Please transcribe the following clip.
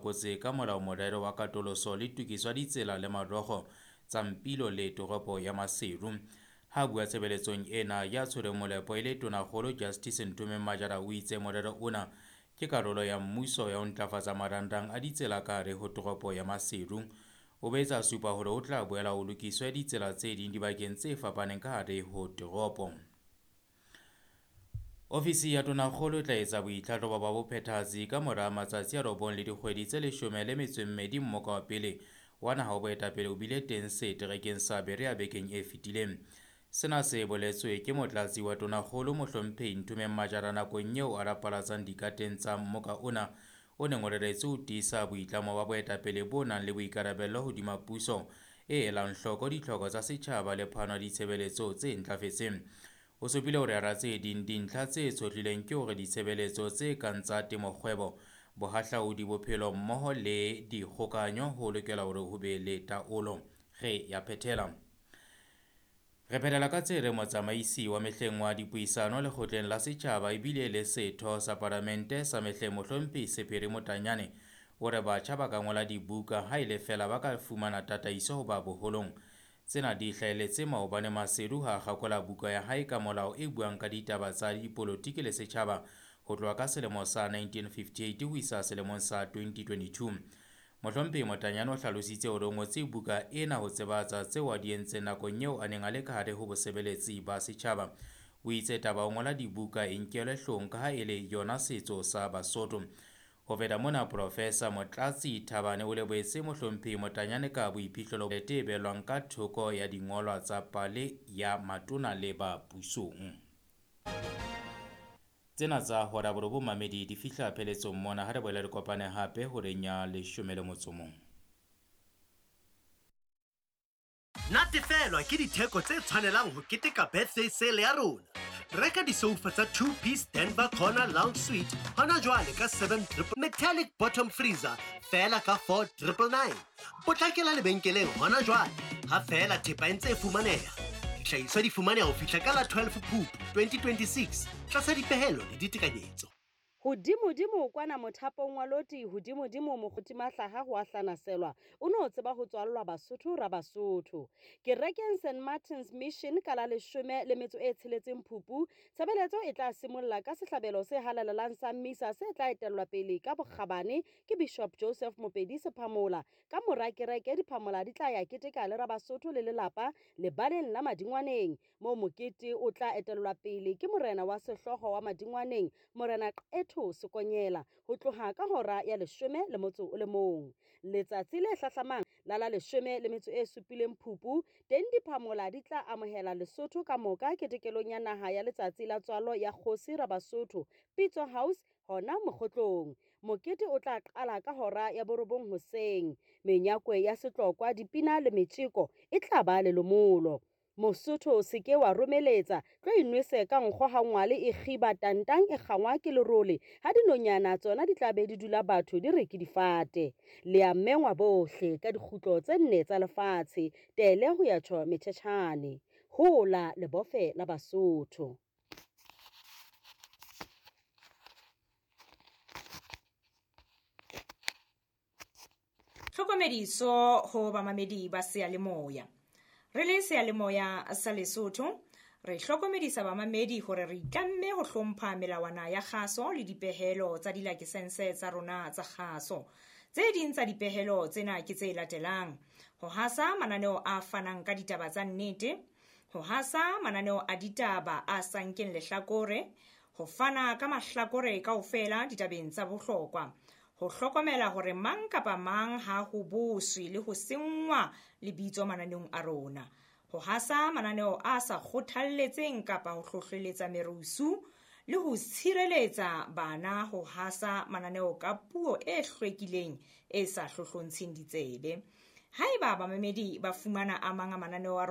Kotse ka molao morero wa katoloso le tokiso ya ditsela le marokgo tsa Mpilo le toropo ya Maseru. Ha bua tshebeletsong ena ya tshwereng molepo e le Tonakgolo Justice Nthomeng Majara o itse morero ona ke karolo ya mmuso ya ho ntlafatsa marangrang a ditsela ka hare ho toropo ya Maseru. O boetse a supa hore ho tla boela ho lokiswe ditsela tse ding dibakeng tse fapaneng ka hare ho toropo. Ofisi ya Tonakgolo e tla etsa boitlhahlobo ba bophethahatsi ka mora matsatsi a 9 le dikgwedi tse 12 mmoka wa pele wa naha wa boetapele o bile teng seterekeng sa Berea bekeng e fetileng. Sena se boletswe ke motlatsi wa Tonakgolo Mohlomphehi Nthomeng Majara nakong eo a rapalatsang dikateng tsa mmoka ona o neng o reretswe ho tiisa boitlamo ba boetapele bo nang le boikarabello hodima puso e elang hloko ditlhoko tsa setjhaba le phano ya ditshebeletso tse ntlafetseng. O supile hore hara tse ding dintlha tse tshohlilweng ke hore ditshebeletso tse kang tsa temokgwebo, bohahlaudi, bophelo mmoho le dikgokahanyo ho lokela hore ho be le taolo. Re ya phethela. Re phethela ka tse reng motsamaisi wa mehleng wa dipuisano lekgotleng la setjhaba ebile le setho sa palamente sa mehleng Mohlomphehi Sephiri Motanyane o re batjha ba ka ngola dibuka ha e le feela ba ka fumana tataiso ho ba boholong. Tsena di hlahelletse maobane Maseru ha a kgakola buka ya hae ka molao e buang ka ditaba tsa dipolotiki le setjhaba ho tloha ka selemo sa 1958 ho isa selemong sa 2022. Mohlomphehi Motanyane o hlalositse hore o ngotse buka ena ho tsebatsa tseo a di entseng nakong eo a neng a le ka hare ho bosebeletsi ba setjhaba. O itse taba o ngola dibuka e nkelwe hloohong ka ha e le yona setso sa Basotho. Ho feta mona, Professor Motlatsi Thabane o lebohetse Mohlomphehi Motanyane ka boiphihlelo e behellwang ka thoko ya dingolwa tsa pale ya matona le ba pusong. Tsena tsa hora borobong mamedi di fihla pheletsong mona ha re boela re kopane hape horeng ya 11. Natefelwa ke ditheko tse tshwanelang ho keteka birthday sale ya rona. Reka di-sofa tsa 2-piece Denver Corner Lounge Suite hona jwale ka 7 triple metallic bottom freezer feela ka 4 999. Potlakela lebenkeleng hona jwale ha feela thepa e ntse e fumaneha. Dihlahiswa di fumaneha ho fihla ka la 12 Phupu 2026 tlasa dipehelo le ditekanyetso. Hodimodimo kwana mothapong wa loti, hodimodimo mokgoti mahlaha ho a hlanaselwa, o no tseba ho tswallwa Basotho ra Basotho. Kerekeng St Martin's Mission ka la 16 Phupu, tshebeletso e tla simolla ka sehlabelo se halalelang sa misa se tla etellwa pele ka bokgabane ke Bishop Joseph Mopedi Sephamola. Ka mora kereke diphamola di tla ya keteka le Rabasotho le lelapa lebaleng la Madingwaneng, moo mokete o tla etellwa pele ke morena wa sehlooho wa Madingwaneng, Morena Qetho Sekonyela, ho tloha ka hora ya 11. Letsatsi le hlahlamang la la 17 Phupu, teng diphamola di tla amohela Lesotho ka moka ketekelong ya naha ya letsatsi la tswalo ya kgosi Rabasotho, Pitso House hona Mokgotlong. Mokete o tla qala ka hora ya 9 hoseng. Menyakwe ya setlokwa, dipina le metjeko e tla ba lelomolo. Mosotho o se ke wa romeletsa, tlo inwese ka nkgo ha ngwale e kgiba tantang e kgangwa ke lerole, ha dinonyana tsona di tla be di dula batho di re ke difate. Le a mengwa bohle ka dikgutlo tse 4 tsa lefatshe, tele ho ya tjho metjhetjhane. Hola lebofe la Basotho. Tlhokomediso ho bamamedi ba seyalemoya. Re le seyalemoya sa Lesotho, re hlokomedisa bamamedi hore re itlamme ho hlompha melawana ya kgaso le dipehelo tsa dilakesense tsa rona tsa kgaso. Tse ding tsa dipehelo tsena ke tse latelang: ho hasa mananeo a fanang ka ditaba tsa nnete, ho hasa mananeo a ditaba a sa nkeng lehlakore, ho fana ka mahlakore kaofela ditabeng tsa bohlokwa, ho hlokomela hore mang kapa mang ha ho boswe le ho senngwa lebitso mananeong a rona, ho hasa mananeo a sa kgothalletseng kapa ho hlohleletsa merusu, le ho tshireletsa bana ho hasa mananeo ka puo e hlwekileng e sa hlohlontsheng ditsebe. Haeba bamamedi ba fumana a mang a mananeo a rona